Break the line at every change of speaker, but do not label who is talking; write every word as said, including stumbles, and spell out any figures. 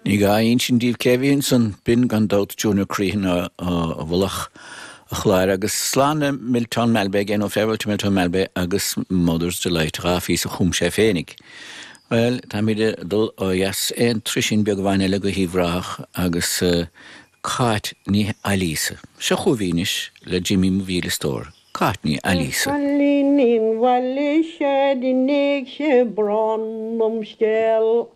Ní gá a insint daoibh cé bhí ansan, b'in gan dabht Junior Crehan i bhfolach an chláir agus slán le Miltown Malbay again ó Farewell to Miltown Malbay agus Mother's Delight dhá phíosa a chum sé féinig. Well, táimid ag dul ó dheas aon truisín beag amháin eile go hUíbh Ráthach agus uh, Cáit Ní Ailíosa. Seo chugaibh anois le Jimmy mo mhíle stór. Cáit Ní Ailíosa.
Cailínín bhaile sé d'inéig sé brón dom scéal.